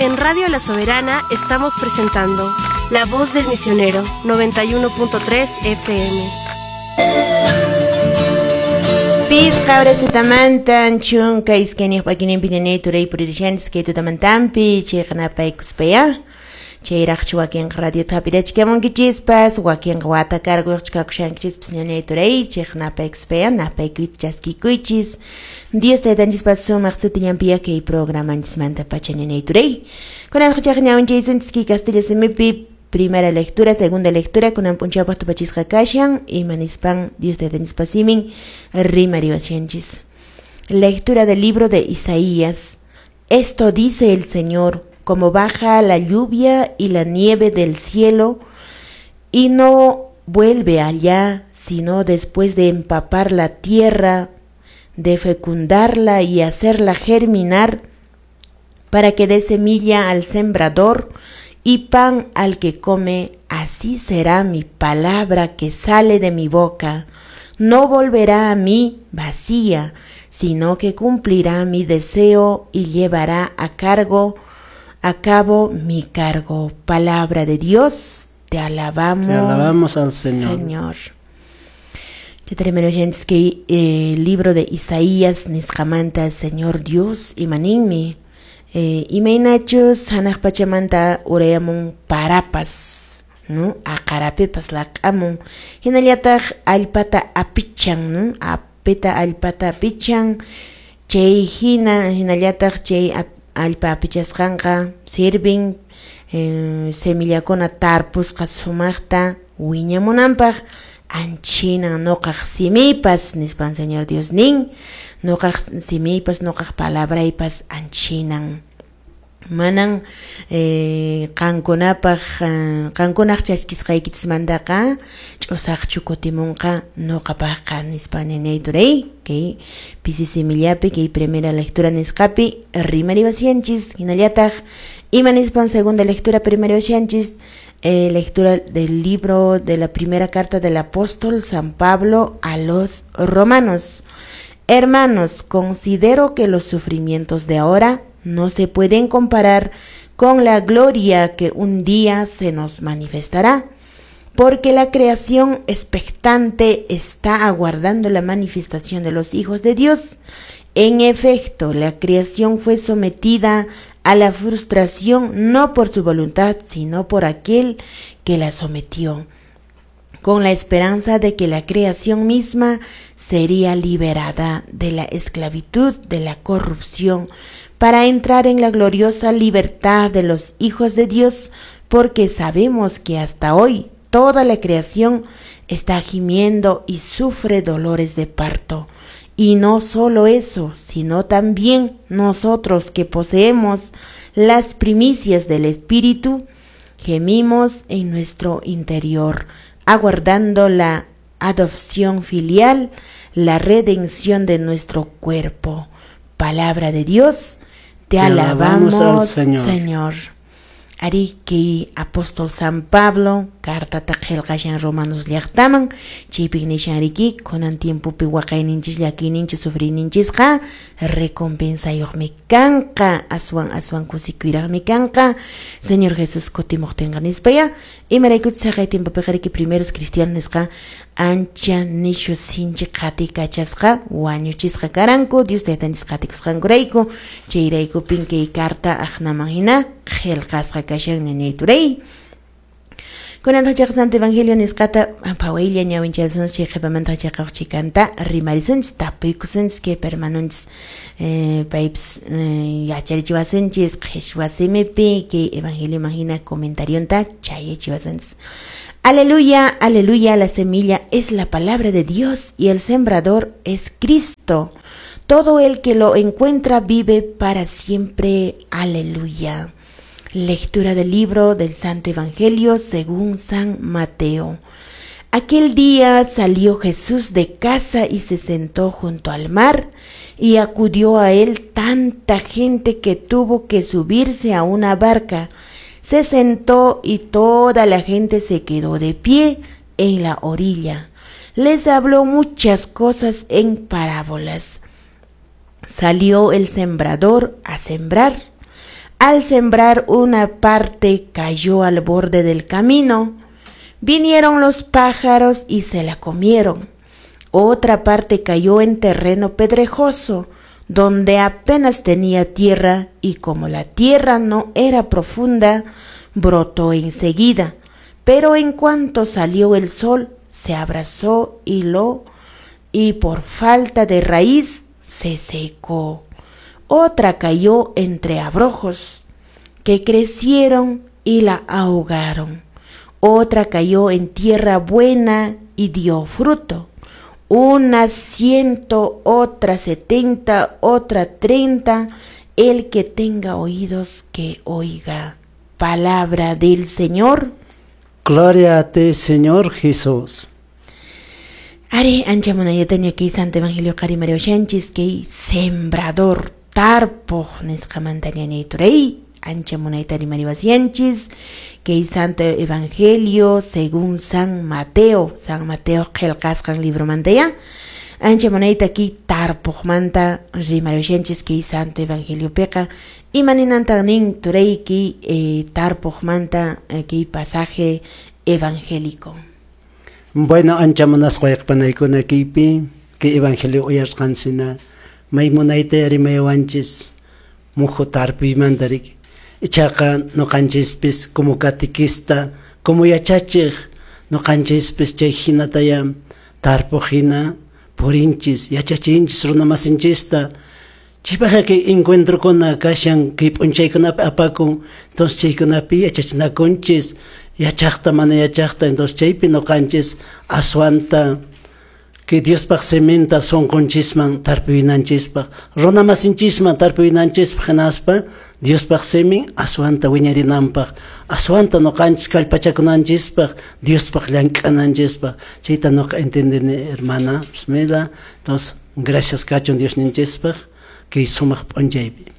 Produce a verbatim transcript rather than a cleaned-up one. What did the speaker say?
En Radio La Soberana estamos presentando La Voz del Misionero, noventa y uno punto tres F M. Pisqa horas tutamantan chunka iskayniq p'akininpi nanay turay puririshani kay tutamantanpi chayqanapaykuspaya chayraqchu wakinqa radiota hap'irachikamunkichispas wakinqa wata carguyuqchu kakushankichispas ñañay turay chayqanapaykuspaya napaykuyta chaskikuychis Dios taytanchispas sumaq sutillanpiya kay programanchismanta pacha ñañay turay kunanqa chayqa ñawinchaysunchis kay kastilla simipi primera lectura, segunda lectura, kunan p'unchawpaq tupachisqa kashan, ima nispan Dios taytanchispa simin rimariwashanchis. Lectura del libro de Isaías. Esto dice el Señor, como baja la lluvia y la nieve del cielo, y no vuelve allá, sino después de empapar la tierra, de fecundarla y hacerla germinar, para que dé semilla al sembrador y pan al que come, así será mi palabra que sale de mi boca. No volverá a mí vacía, sino que cumplirá mi deseo y llevará a cargo, a cabo mi cargo. Palabra de Dios, te alabamos. Te alabamos al Señor. Señor. Chataremero oyentes que el libro de Isaías nisqamanta Señor Dios imaninmi. Eh, imaynachus hanaq pachamanta urayamun parapas, ¿no? Aqarapipas laq'amun, hinallataq allpata apichan, ¿no? Apita allpata apichan, chay hina hinallataq chay allpa apichasqanqa sirvin eh, semillakuna tarpusqa sumaqta wiñamunanpaq anchinan nuqaq simipas nispan Señor Dios nin, nuqaq simipas nuqaq palabraypas anchinan. Manan eh, qankunapaq eh, qankunaq chaskisqaykichismantaqa ch'usaqchu kutimunqa nuqapaqqa nispa ninay turay kay pisi simillapi kay primera lectura nisqapi rimariwashanchis hinallataq ima nispan segunda lectura primariwashanchis. Eh, lectura del libro de la primera carta del apóstol San Pablo a los romanos. Hermanos, considero que los sufrimientos de ahora no se pueden comparar con la gloria que un día se nos manifestará, porque la creación expectante está aguardando la manifestación de los hijos de Dios. En efecto, la creación fue sometida a la frustración no por su voluntad, sino por aquel que la sometió, con la esperanza de que la creación misma sería liberada de la esclavitud, de la corrupción, para entrar en la gloriosa libertad de los hijos de Dios, porque sabemos que hasta hoy toda la creación está gimiendo y sufre dolores de parto. Y no solo eso, sino también nosotros que poseemos las primicias del Espíritu, gemimos en nuestro interior, aguardando la adopción filial, la redención de nuestro cuerpo. Palabra de Dios, te, te alabamos, alabamos al Señor. Señor. Ariki apóstol San Pablo cartata qillqashan Romanos llaqtaman chaypik nishan riki kunan tiempopi waqayninchis llakiyninchis sufriyninchisqa recompensayuqmi kanqa aswan aswan kusikuyraqmi kanqa Señor Jesús kutimuqtinqa nispaya imaraykuchus haqay tiempopiqa riki primeros cristianos nisqa ancha nishu sinchi qatikachasqa wañuchisqa karanku Dios taytanchis qatikusqankurayku chayraykupin kay carta aqnaman hina qillqasqa kashan ñañay turay. Kunantaq chayqa Santo Evangelio nisqata phawaylla ñawincharisunchis chay qhipamantaq chayqa huk chikanta rimarisunchis tapuykusunchis kay hermanunchis eh, paypis eh, yacharichiwasunchis qhichwa simipi kay Evangelioman hina comentarionta chayachiwasunchis. Aleluya, aleluya, la semilla es la palabra de Dios y el sembrador es Cristo. Todo el que lo encuentra vive para siempre. Aleluya. Lectura del libro del Santo Evangelio según San Mateo. Aquel día salió Jesús de casa y se sentó junto al mar, y acudió a él tanta gente que tuvo que subirse a una barca. Se sentó y toda la gente se quedó de pie en la orilla. Les habló muchas cosas en parábolas. Salió el sembrador a sembrar. Al sembrar una parte cayó al borde del camino. Vinieron los pájaros y se la comieron. Otra parte cayó en terreno pedregoso, donde apenas tenía tierra, y como la tierra no era profunda, brotó enseguida. Pero en cuanto salió el sol, se abrasó y lo y por falta de raíz se secó. Otra cayó entre abrojos, que crecieron y la ahogaron. Otra cayó en tierra buena y dio fruto. Una ciento, otra setenta, otra treinta. El que tenga oídos, que oiga. Palabra del Señor. Gloria a ti, Señor Jesús. Ari, ancha munaytaña kay Santo Evangelio qarimarishanchis kay sembrador tarpuq nisqamanta ñañay turay ancha munayta rimariwasyanchis kay Santo Evangelio según San Mateo, San Mateo qillqasqan libromanta ya ancha munayta kay tarpuqmanta rimariwashanchis kay Santo Evangeliopiqa imaninantan nin turay kay eh, tarpuqmanta eh, kay pasaje evangélico. Bueno, ancha munasqa wayqipanaykuna kaypi kay evangelio uyarisqansina may munayta rimayawanchis muhu tarpuymanta riki ichaqa ñuqanchispis como catequista como yachachiq ñuqanchispis chay hinataya tarpuq hina purinchis yachachinchis runamasinchista chaypaqqa kay encuentrokuna kashan kay p'unchaykunapi apakun entonces chaykunapi yachachinakunchis yachaqta mana yachaqta entonces chaypi ñuqanchis aswanta que Diospaq siminta sunqunchisman tarpuyninchispaq runamasinchisman tarpuyninchispaq hinaspa Diospaq simin aswanta wiñarinanpaq aswanta ñuqanchis kallpachakunanchispaq Diospaq llank'ananchispaq chayta ñuqa entendini hermana Bismillah. Entonces gracias kachun Diosninchispaq kay sumaq p'unchaypi.